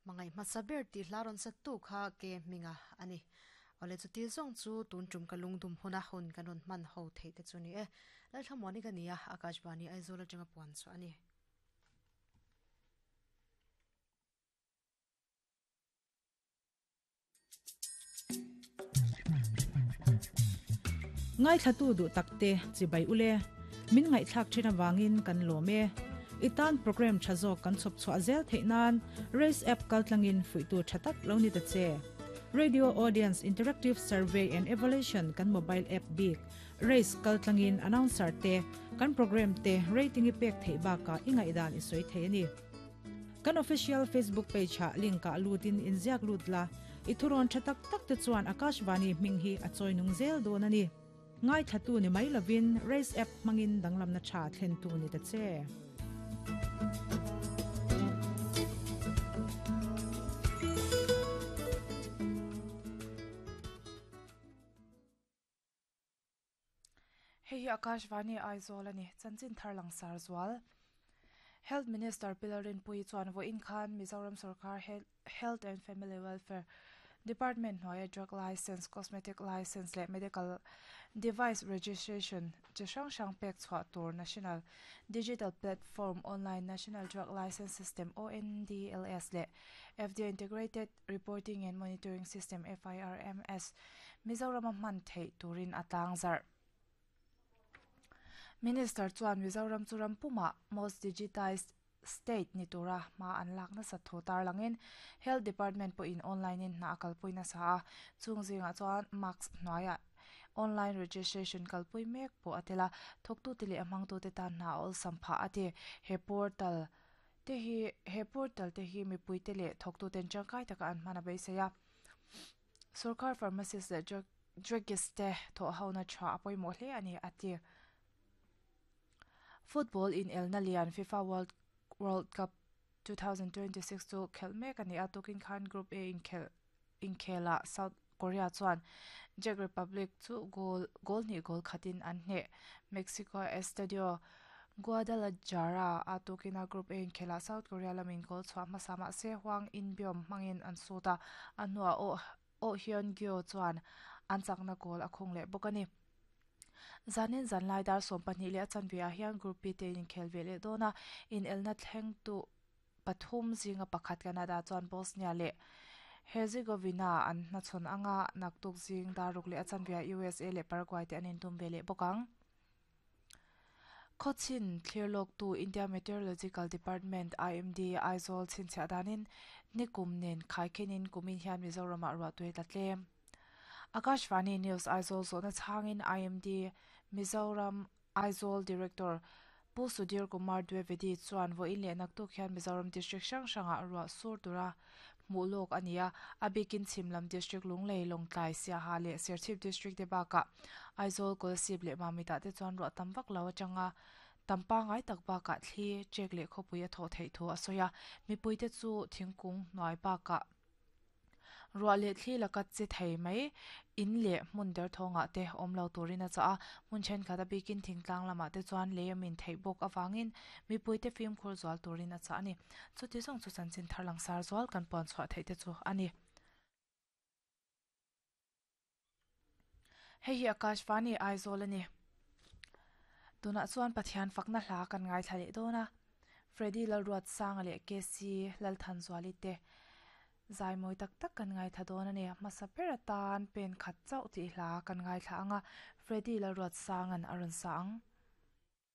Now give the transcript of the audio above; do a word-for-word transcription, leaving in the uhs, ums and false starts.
Mangai hmasa ber tih hla rawn sat tu kha ke hminga ani. Awle chuti zawng chu tun tum ka lungdum huna hun kan rawn hman ho theih te chu ni e. Lalthlamuani ka ni a, Akashvani Aizawl atanga puan chu ani. Ngai thlatu du takte chibai ule min ngai thlak thina wangin kan lome itan program thazo kan chop chwa zel theinan race app kaltlangin fuitu thatak lo ni ta che. Radio Audience Interactive Survey and Evaluation kan mobile app big race kaltlangin announcer te kan program te rating i pek thei ba ka ingai dan i soi thei ni. Kan official Facebook page ha link ka lutin inziak lutla ithuron thatak tak te chuan Akashvani minghi a choinung zel don ani. Ngai thatu ni mai lovin race app mangin danglam na tha thlen tu ni ta che. Hei hi Akashvani Aizawl ani chanchin tharlang sarzual. Health Minister Pilarin Pui chuan vo in khan Mizoram Sarkar Health and Family Welfare Department hnuaia drug license, cosmetic license leh medical device registration chi hrang hrang pek chhuah tur National Digital Platform Online National Drug License System O N D L S leh F D A Integrated Reporting and Monitoring System F I R M S Mizoram hman theih turin a tlang zarh. Minister chuan Mizoram churam puma most digitized state ni tura ma an lak na sa thu tar langin Health Department po in online in na kalpui na sa a chung zinga chuan mask hnuaia online registration kalpui mek po atela thoktu tile amang tu te tan na ol sampha ate he portal te hi he portal te hi mi pui te le thoktu ten changkai taka an mana beiseya. Sarkar pharmacist le drug druggist te tho hauna tha apoi mo hle ani ati. Football in El Nalian FIFA World World Cup twenty twenty-six chu khelmek ani atukin khan Group A in khel in khela South Korea chuan Czech Republic chu goal goal ni goal khatin an hne. Mexico Estadio Guadalajara atukina Group A in khela South Korea lamin goal chwa masama se Hwang Inbeom mangin an suta anwa o o Hyun Gyo chuan an chakna goal akhung le bokani. Zanin zanlai dar som pahnih leh a chanve ah hian Group B te in khel ve leh dawn a in elna thleng tu pathum zinga pakhat Canada chuan Bosnia leh Herzegovina an hmachhawn anga naktuk zing daruk leh a chanve ah U S A leh Paraguay te an intum ve leh bawk ang. Khawchin thlirlawk tu India Meteorological Department I M D Aizawl chhinchhiah danin nikum nen khaikhenin kumin hian Mizoram ah ruah tui tla tlem. Akashvani News Aizawl zawhna chhangin I M D Mizoram Aizawl Director Pu Sudhir Kumar Dwivedi chuan vo in leh naktuk hian Mizoram District hrang hrangah ruah sur tura hmuh lawk ani a a bikin Chhimlam District Lunglei Lawngtlai Siaha leh Serchhip District te bakah Aizawl Kolasib leh Mamita te chuan ruah tam vak lo atanga tampa ngai tak bakah thli chek leh khawpui a thawh theih thu a sawi a mipui te chu thingkung hnuai bakah ruah leh thli laka che thei mai in leh hmun der thawngah te awm lo turin a chah a hmun thenkhat a bikin thingtlang lamah te chuan lei a min theih bawk awangin mipui te fimkhur zual turin a chah ani. Chuti zawng chu chanchin tharlang sar zual kan puan chhuah theih te chu ani. Hei hi Akashvani Aizawl ani. Tunah chuan Pathian fakna hla kan ngai thla leh dawn a Freddy Lalruat Sanga leh K C Lalthanzuali te zai mawi tak tak kan ngai tha dawn ani. Hmasa ber atan pen khat chauh tih hla kan ngai thla anga Freddy Lalruat Sangan a rawn sa ang.